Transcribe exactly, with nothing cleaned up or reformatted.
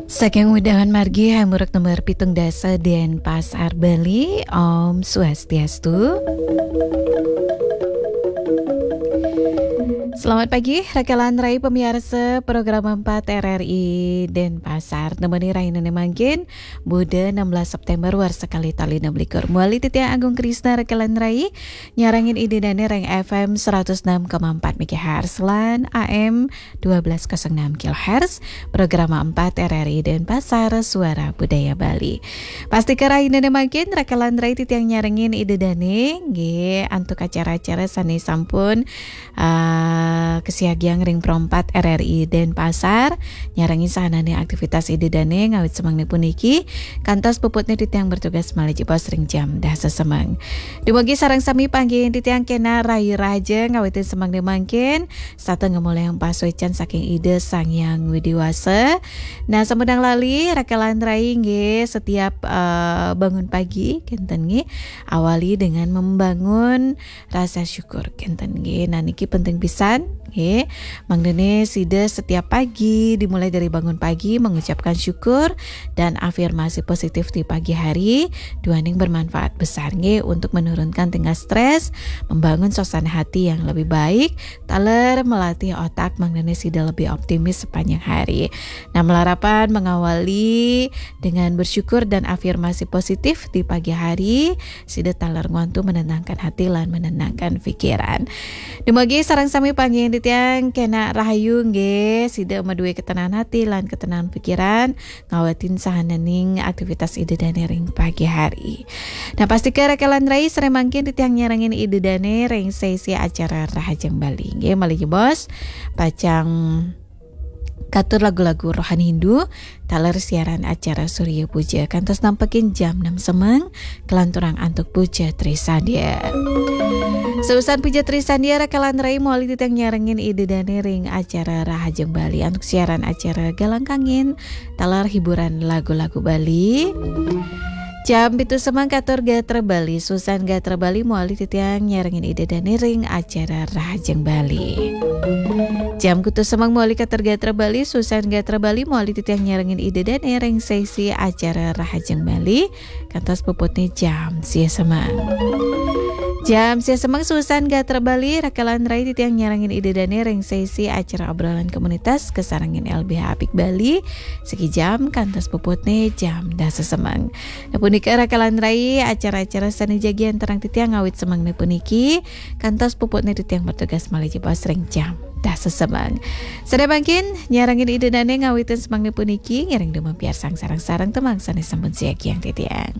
Saking Udawan Margi, Hamburg nomor pitung dasa, Denpasar, Bali. Om Swastiastu. Selamat pagi, rakalan rai pamiarsa program empat R R I Denpasar. Nemeni rahina mangkin, Buda enam belas September, warsa kalih tali enam likur. Mawali titiang Agung Krisna, rakalan rai, nyarengin Ida Dane ring F M seratus enam koma empat megahertz lan A M dua belas kosong enam kilohertz, program empat R R I Denpasar, Suara Budaya Bali. Pastika rahina mangkin, rakalan rai, titiang nyarengin Ida Dane, nggih, antuk acara-acara sane sampun, eh, kasiagiang ring Pro empat R R I Denpasar, nyarengin sahanane aktivitas Ida Dane ngawit semengni puniki, kantos puputne titiang bertugas malih jebos ring jam dasa semeng. Dumugi sareng sami panggihin titiang kena rahayu rahaja ngawitin semengni mangkin, sarta ngamolihang pasuecan saking Ida Sang Hyang Widi Wasa. Nah, sampunang lali, rakalan rai, nggih, setiap, eh, bangun pagi, kenten, nggih, awali dengan membangun rasa syukur, kenten, nggih. Nah, niki penting pisan, nggih. Mangdane sida setiap pagi, dimulai dari bangun pagi, mengucapkan syukur dan afirmasi positif di pagi hari, duaning bermanfaat besar, nggih, untuk menurunkan tingkat stres, membangun suasana hati yang lebih baik, taler melatih otak mangdane sida lebih optimis sepanjang hari. Nah, malarapan mengawali dengan bersyukur dan afirmasi positif di pagi hari, sida taler ngwantu menenangkan hati lan menenangkan pikiran. Dumugi sareng sami panggihin titiang kena rahayu, nggih, sida madue ketenangan hati lan ketenangan pikiran, ngawitin sahananing aktivitas Ida Dane ring pagi hari. Nah, pastika rakalan rai, sare mangkin titiang nyarengin Ida Dane ring sesi acara Rahajeng Bali. Nggih, malih jebos, pacang katur lagu-lagu rohani Hindu, taler siaran acara Surya Puja kantos nampekin jam enam semeng, kalanturang antuk Puja Trisandya. Seusan Puja Trisandya, rakalan rai, mawali titiang nyarengin Ida Dane ring acara Rahajeng Bali antuk siaran acara Galang Kangin, taler hiburan lagu-lagu Bali. Jam pitu semeng katur gatra Bali, seusan gatra Bali, mawali titiang nyarengin Ida Dane ring acara Rahajeng Bali. Jam kutus semeng mawali katur gatra Bali, seusan gatra Bali, mawali titiang nyarengin Ida Dane ring sesi acara Rahajeng Bali, kantos puputne jam sia semeng. Jam sia semeng seusan gatra Bali, rakalan rai, titiang nyarengin Ida Dane ring sesi acara obrolan komunitas kasarengin L B H Apik Bali, siki jam kantos puputne jam dasa semeng. Nah, punika rakalan rai acara-acara sane jagi antarang titiang ngawit semengni puniki, kantos puputne titiang bertugas malih jebos ring jam dasa semeng. Sare mangkin, nyarengin Ida Dane ngawitin semengni puniki, ngiring dumun piarsang sareng-sareng tembang sane sampun siagiang titiang.